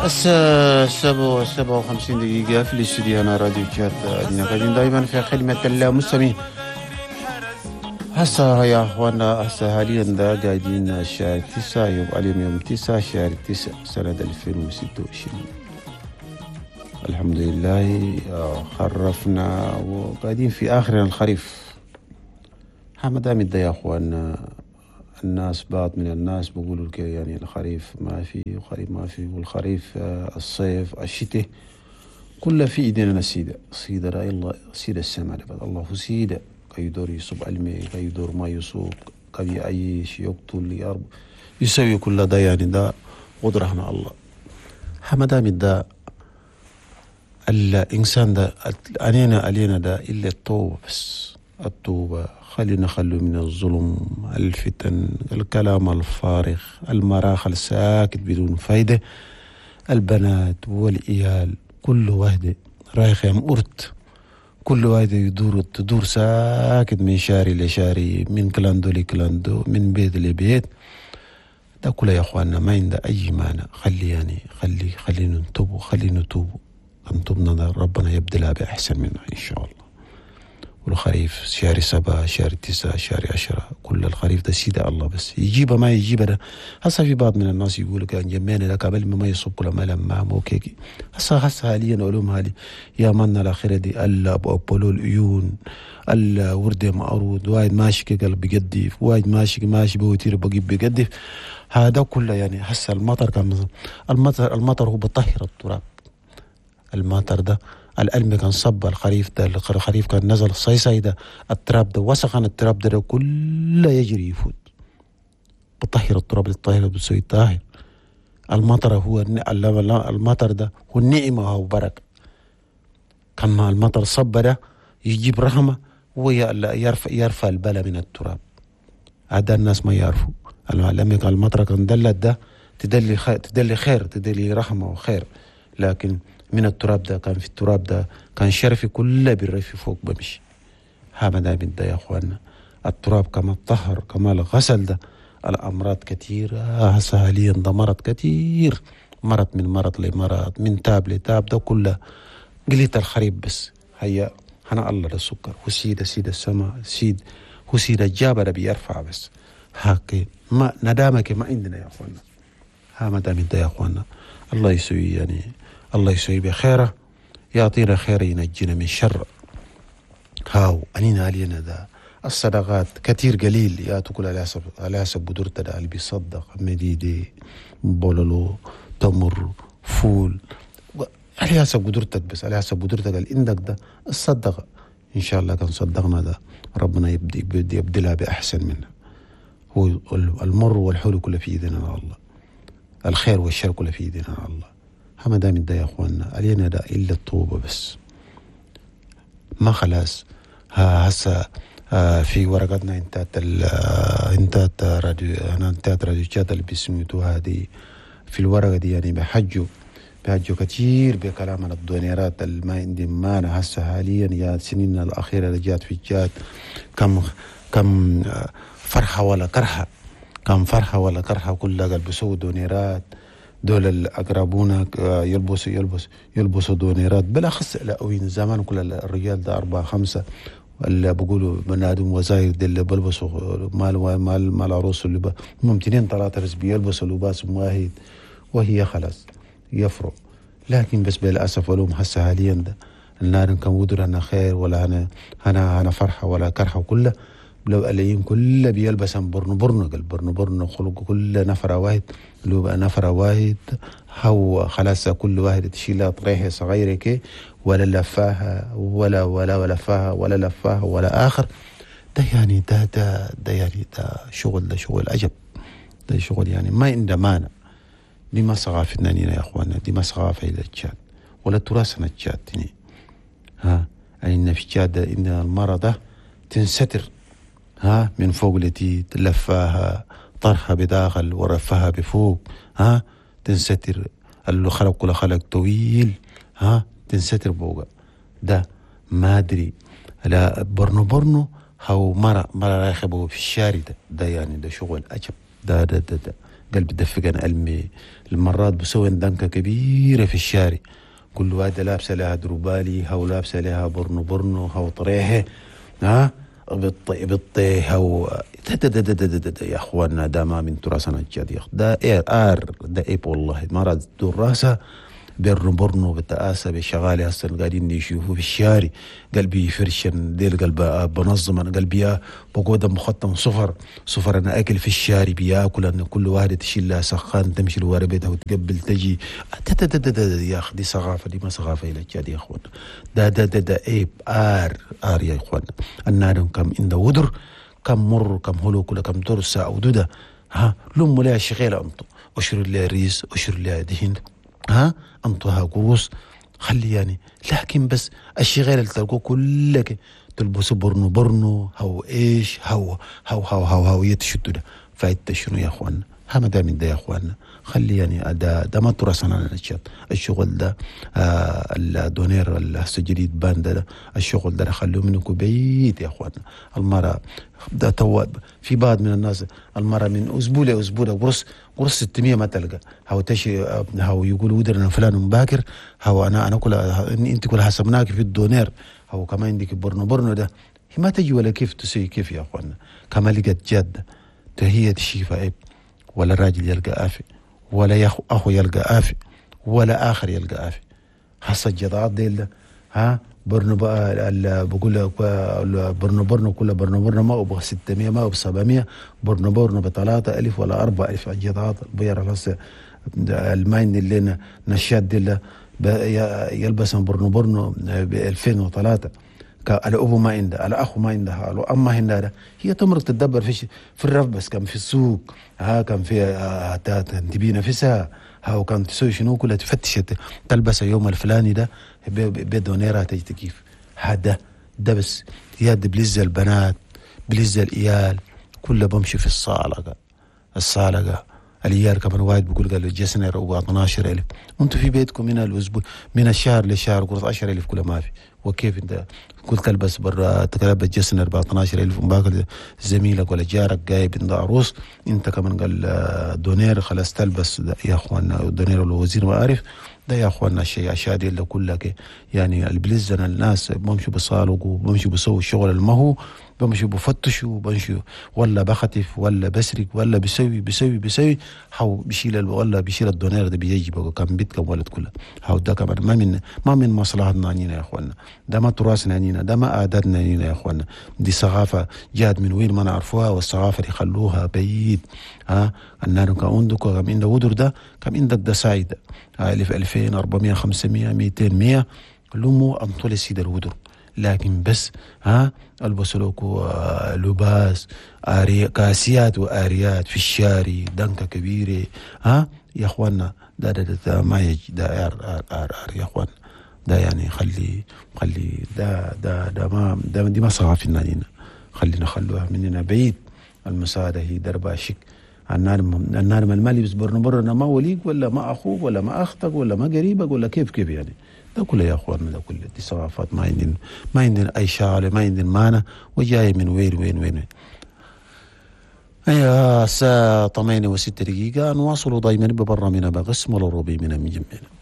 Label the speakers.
Speaker 1: الساعة 7:57 في الاستوديو هنا راديو تشاد. قاعدين دائما في خدمة المستمعين. هسه يا اخوانا، هسه حاليا ده قاعدين شهر 9، يوم اليوم يوم 9 شهر 9 سنة 2026. الحمد لله خرفنا وقاعدين في آخر الخريف. ما دام ده يا اخوانا، الناس بعض من الناس بيقولوا يعني الخريف ما في، وخريف ما في، والخريف الصيف الشتاء كله في ايدينا. سيدة سيدة رأي الله، سيدة السماء الله هو سيدة كيدور يصب الماء، كيدور ما يسوق، كي يعيش يقتل يرب يسوي كل ده، يعني ده قدرة الله. حمدام ده الإنسان ده علينا علينا ده إلا التوبة بس، التوبة. خلينا نخلو من الظلم، الفتن، الكلام الفارغ، المراخ الساكت بدون فايدة. البنات والإيال كل واحدة رايخة أرت، كل واحدة يدور تدور ساكت من شاري لشاري، من كلاندو لكلاندو، من بيت لبيت. ده كله يا أخواننا ما عنده أي معنى. خلي يعني خلي خلينا نتوب، خلينا نتوب، نتوبنا ربنا يبدلها بأحسن منها إن شاء الله. والخريف شهر 7 شهر 9 شهر 10 كل الخريف ده سيدة الله بس يجيبه ما يجيبه ده. هسه في بعض من الناس يقولوا كان جمعنا لك قبل ما يصب كل ما لما مو كيكي. هسه حاليا علوم هالي يا منا الأخيرة دي ألا أبو أبولو العيون ألا وردة معروض وايد ماشي قلب بيقدف، وايد ماشي ماشي بوتير بجيب بيقدف. هذا كله يعني هسه المطر كان المطر هو بطهر التراب. المطر ده الألم كان صب الخريف ده، الخريف كان نزل الصيصي ده، التراب ده وسخن التراب ده كله يجري يفوت، بطهر التراب، الطاهر بتسوي طاهر. المطر هو المطر ده هو النعمة هو بركة. كما المطر صب ده يجيب رحمة ويرفع يرفع البلاء من التراب. هذا الناس ما يعرفوا. لما المطر كان دلت ده تدلي خير، تدلي خير، تدلي رحمة وخير. لكن من التراب ده كان في التراب ده كان شرفي كله بالرف فوق بمشي. هذا ده ده يا اخوانا التراب كما الطهر كما الغسل ده. الامراض كثيرة هسه حاليا ده مرض كثير، مرض من مرض لمرض، من تاب لتاب، ده كله قليت الخريب بس. هيا هنا الله ده السكر وسيد سيد السماء سيد وسيد الجابر بيرفع بس. هاكي ما ندامك ما عندنا يا اخوانا. ها ما دام ده يا اخوانا الله يسوي يعني الله يسوي بخيره، يعطينا خير ينجينا من شر. هاو أنينا علينا ذا الصدقات كثير قليل يا تقول على حسب على حسب قدرته ده اللي بيصدق مديدي بولولو تمر فول على حسب قدرتك، بس على حسب قدرتك اللي عندك ده الصدقة. إن شاء الله كان صدقنا ده ربنا يبدي يبدلها بأحسن منها. هو المر والحلو كله في إيدنا الله، الخير والشر كله في إيدنا الله. ما دام ده يا اخواننا علينا ده الا الطوبه بس. ما خلاص ها هسه في ورقتنا انتات انتات راديو انا انتات راديو شات اللي بيسميتوها هذه في الورقة دي يعني بحجوا كثير بكلام عن الدونيرات اللي ما عندي مانع. هسه حاليا يا سنين الاخيرة اللي جات في الجات كم فرحه ولا كرهه، كم فرحه ولا كرهه كلها قال بيسووا دونيرات. دول الأقربون يلبسوا يلبس يلبسوا دونيرات بالأخص لاوين زمان كل الرجال ده 4 5 اللي بيقولوا بنادم وزاير دي اللي بلبسوا مال مال مال عروس اللي هم 2 3 بس بيلبسوا لباس واحد وهي خلاص يفرق. لكن بس بالأسف ولوم هسه حاليا ده النار كان ودر أنا خير ولا أنا أنا أنا فرحة ولا كرحة وكله لو قليين كله بيلبس برن برن قال برن برن خلق كل نفر واحد لو بقى نفر واحد هو خلاص كل واحد تشيلها طريحة صغيرة كي ولا لفاها ولا ولا ولا لفاها ولا لفاها ولا آخر. ده يعني ده ده ده يعني ده شغل، ده شغل عجب، ده شغل يعني ما عنده مانع. دي ما ثقافتنا يا اخوانا، دي ما ثقافة إلى التشاد ولا تراثنا التشاد. ها يعني في تشاد إن المرض تنستر ها من فوق التي لفاها طرحها بداخل ورفها بفوق، ها تنستر اللي خلق كل خلق طويل، ها تنستر بوقا ده ما ادري لا برنو برنو هو مرة مرة رايخ في الشارع ده يعني ده شغل عجب ده ده ده, ده. قلب دفقن ألمي المرات بسوي دنكة كبيرة في الشارع، كل واحدة لابسة لها دروبالي هاو لابسة لها برنو برنو هاو طريحة، ها بطي هاو يا اخواننا ده ما من تراثنا الجاد يا اخ، ده ايه ار ده ايب والله مرض دور راسه برنو برنو بتآسى بشغالي هسه قاعدين يشوفوا في الشارع قلبي يفرشن ديل قلب بنظم انا قلبي بقود مختم صفر صفر انا اكل في الشارع بياكل ان كل واحدة تشيل لها سخان تمشي لورا بيتها وتقبل تجي يا اخ دي ثقافة، دي ما ثقافة الى الجاد يا اخوان، ده ده ده ده ايب ار ار يا اخوان. النار كم عند ودر كم مر كم هلوك ولا كم درسه او دوده، ها لم لها شغيله انتو اشر لها ريس اشر لها دهن، ها انطوها قروس خلي يعني، لكن بس الشغال اللي تلقوه كلك تلبسوا برنو برنو هو ايش هو هو هو هو هو يتشدوا ده فايدة شنو يا اخوانا؟ ها ده من ده يا اخوانا، خلي يعني ده ما تراثنا الشط الشغل ده، الدونير الجديد باند ده الشغل ده خلوه منكم بعيد يا اخوانا. المرأة ده تو في بعض من الناس المرأة من اسبوع لاسبوع قرص 600 ما تلقى، هو تشي هو يقول ودرنا فلان مباكر، هو انا كل انت كل حسبناك في الدونير، هو كمان عندك برنو برنو ده ما تجي ولا كيف تسوي كيف يا اخوانا؟ كما لقت جد هي تشيفها عيب، ولا الراجل يلقى آفي ولا أخو يلقى آفي ولا آخر يلقى آفي. هسه الجدعات ديل ها برنو بقى بقول لك برنو برنو كله برنو برنو ما ابغى 600 ما ابغى 700 برنو برنو ب3000 ولا 4000 الجدعات بير هسه الماين اللي نشاد ديل يلبس برنو برنو ب 2003 الأبو ما عنده، الأخو ما عندها، الأم ما عندها، هي تمرق تتدبر في الرف بس كان في السوق، ها كان في تبي نفسها، ها وكان تسوي شنو كلها تفتش تلبس يوم الفلاني ده بدونيرها تجي كيف هذا ده بس يا بلز البنات بلز الإيال كله بمشي في الصالة الصالة الإيال كمان واحد بيقول قال جسنر أبو 12000 وانتم في بيتكم من الأسبوع من الشهر لشهر قلت 10000 كله ما في، وكيف انت قلت تلبس برا تلبس جسنر ب 12000 ومباكل زميلك ولا جارك جايب عند عروس انت كمان قال دونير خلاص تلبس يا اخوانا دونير الوزير ما اعرف ده يا اخوانا الشيء اشياء دي اللي كلها يعني البلزنا الناس بمشوا بصالقوا بمشوا بسووا الشغل المهو بمشوا بفتشوا بمشوا ولا بختف ولا بسرق ولا بسوي بسوي بسوي هاو بشيل ولا بشيل الدونير ده بيجي بقى كم بيت كم ولد كله هاو ده كمان ما من مصلحتنا عنينا يا اخوانا، ده ما تراثنا عنينا، ده ما عاداتنا عنينا يا اخوانا، دي ثقافة جات من وين ما نعرفوها، والثقافة دي خلوها بعيد. ها النار كان عندك كم عندك ودر ده كم عندك ده سايد 1000 2000 400 500 200 100 لمو انطول سيد الودر، لكن بس ها البسوا لكم لباس كاسيات واريات في الشارع دنكه كبيرة ها يا اخوانا، ده ده, ده ما يجي ده ار ار ار ار يا اخوانا، ده يعني خلي ده ده ده ما ده دي ما ثقافتنا لينا، خلينا خلوها مننا بعيد. المساعدة هي دربها شك النار ما لبس برنو برنا ما وليك ولا ما اخوك ولا ما اختك ولا ما قريبك ولا كيف يعني ده كله يا اخواننا، ده كله دي ثقافات ما عندنا اي شغله، ما عندنا معنى، وجاي من وين وين وين. ايوه الساعة 8:06 نواصل دائما ببرنامجنا بقسم الروبي من جمعنا.